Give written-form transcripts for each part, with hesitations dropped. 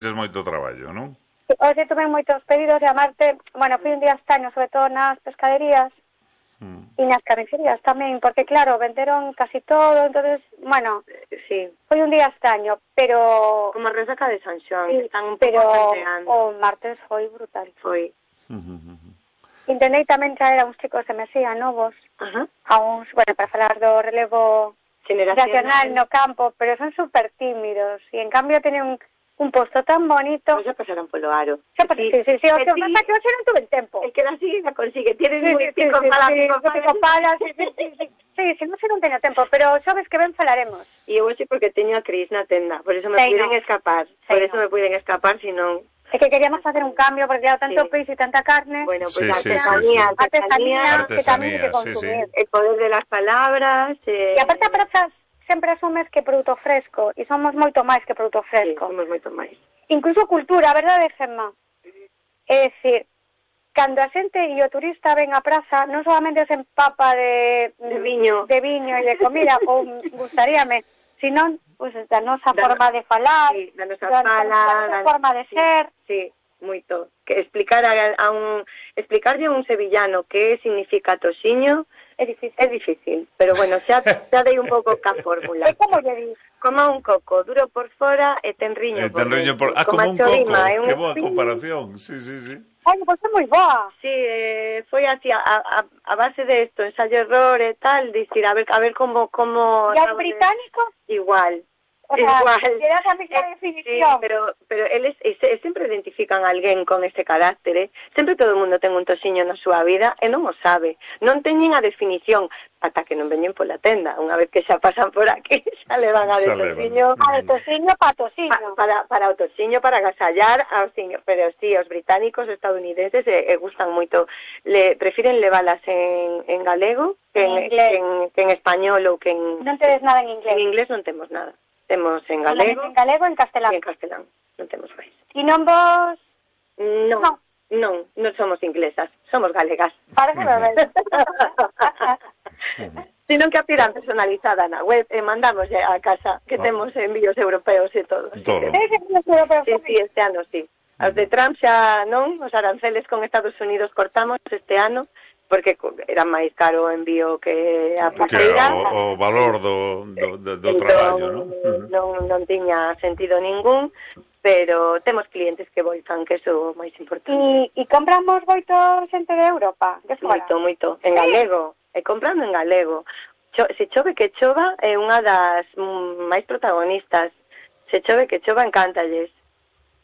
tes moito traballo, non? Hoxe tuve moitos pedidos e a Marte, bueno, fui un día este año, sobre todo nas pescaderías e nas carnicerías tamén, porque claro, venderon casi todo, entonces, bueno, Sí, foi un día este año, pero como a resaca de San Xoán, sí, están un pero pouco centeando. o martes foi brutal. Foi. Intentei tamén traer a uns chicos de Mesía novos, Ajá. a uns, bueno, para falar do relevo nacional no campo, pero son super tímidos e en cambio teñen un posto tan bonito. Pois xa pasaron polo aro. Sí, o que pasa que hoxe non tuve tempo. El que la sigue la consigue. Tienes muy Sí, non sei non teño tempo, pero sabes que ben falaremos. E eu hoxe porque teño a Cris na tenda, por eso me puiden escapar. Por eso me puiden escapar, senón... É que queríamos facer un cambio, porque claro, tanto peixe e tanta carne. Bueno, pues artesanía que tamén hay que consumir. El poder de las palabras. E aparte a praza sempre asumes que produto fresco, e somos moito máis que produto fresco. Sí, somos moito máis. Incluso cultura, a verdade, Gemma? É dicir, cando a xente e o turista ven á praza, non solamente se empapa de viño e de comida, ou gustaríame, senón pues, da nosa forma de falar, da nosa fala, da forma de ser. Sí, moito. Que explicarlle a un sevillano que significa tociño é difícil, pero bueno, xa dei un pouco ca fórmula. É como lle dis? Como un coco, duro por fora e tenriño por dentro. Como un coco, que boa comparación, sí. Ai, pois é moi boa. Sí, foi así, a base de esto, ensayo-error e tal, dicir, a ver como... ¿Y al británico? Igual. O sea, le das a mesma definición. Sí, pero eles sempre identifican a alguén con ese carácter, Sempre todo o mundo ten un tosiño na súa vida e non o sabe. Non teñen a definición ata que non veñen pola tenda. Unha vez que xa pasan por aquí, xa le van a de tosiño. A de tosiño para tosiño. Para o tosiño, para agasallar ao tosiño. Pero sí, os británicos, estadounidenses, gustan moito. Prefiren levalas en galego que en español ou que en... Non tedes nada en inglés. En inglés non temos nada. Temos en galego. En galego e en castelán. E en castelán, non temos máis. E non vos... Non somos inglesas, somos galegas. Parece ben. Sino que a pidan personalizada na web e mandamos a casa, que temos envíos europeos e todo. Todo. Sí, este ano sí. Os de Trump xa non, os aranceles con Estados Unidos cortamos este ano, porque era máis caro o envío que a pulseira. O valor do traballo, non tiña sentido ningún, pero temos clientes que voltan, que é o máis importante. E compramos moito xente de Europa? Moito, en galego, e comprando en galego. Se chove que chova é unha das máis protagonistas. Se chove que chova, encántalles.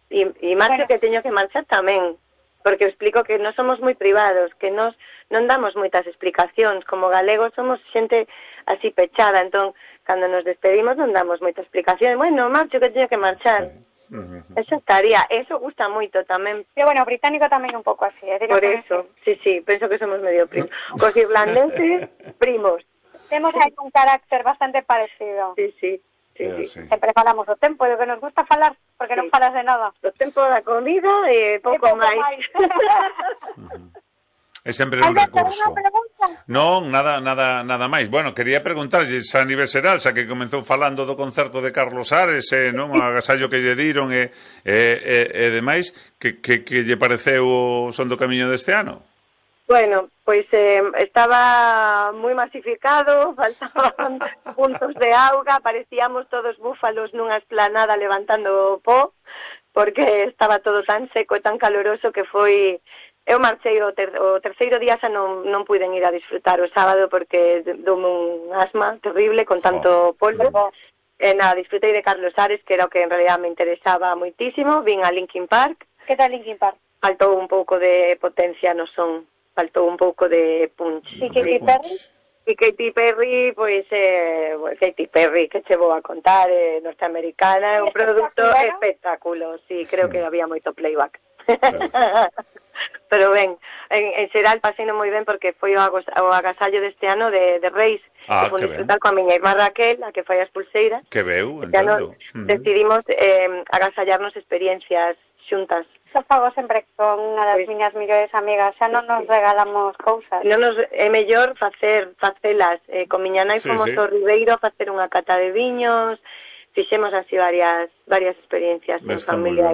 E marcho que teño que marchar tamén, porque explico que non somos moi privados, que non damos moitas explicacións, como galegos somos xente así pechada, entón, cando nos despedimos non damos moita explicación, bueno, marcho que teño que marchar. Eso estaría, eso gusta moito tamén. Pero bueno, o británico tamén un pouco así, Por eso, sí, penso que somos medio primos. Cos irlandeses, primos. Temos aí un carácter bastante parecido. Sí. Sempre falamos o tempo, e o que nos gusta falar, porque non falas de nada. O tempo da comida e pouco máis. É sempre un recurso. Non, nada máis. Bueno, quería preguntarlle a nivel xeral, xa que comezou falando do concerto de Carlos Ares, non, o agasallo que lle diron e demais, que lle pareceu o Son do Camiño deste ano? Bueno, pois estaba moi masificado, faltaban puntos de auga, parecíamos todos búfalos nunha esplanada levantando pó, porque estaba todo tan seco e tan caloroso que foi... Eu marchei o terceiro día xa non puiden ir a disfrutar o sábado porque doume un asma terrible con tanto polvo. Disfrutei de Carlos Ares, que era o que en realidad me interesaba moitísimo. Vin a Linkin Park. Que tal Linkin Park? Faltou un pouco de potencia no son. Faltou un pouco de punch. E Katy Perry? E Katy Perry, pois, Katy Perry, que che vou a contar, norteamericana, é un produto espectáculo. Sí, creo que había moito playback. Pero ben, en xeral paseino moi ben porque foi o agasallo deste ano de Reis, que foi disfrutar coa miña irmá Raquel, a que fai as pulseiras. Que veu, entendo. Decidimos agasallarnos experiencias xuntas. Xa fago sempre con unha das miñas millores amigas, xa non nos regalamos cousas. É mellor facelas. Con miña nai fomos ao Ribeiro a facer unha cata de viños, fixemos así varias experiencias en familia.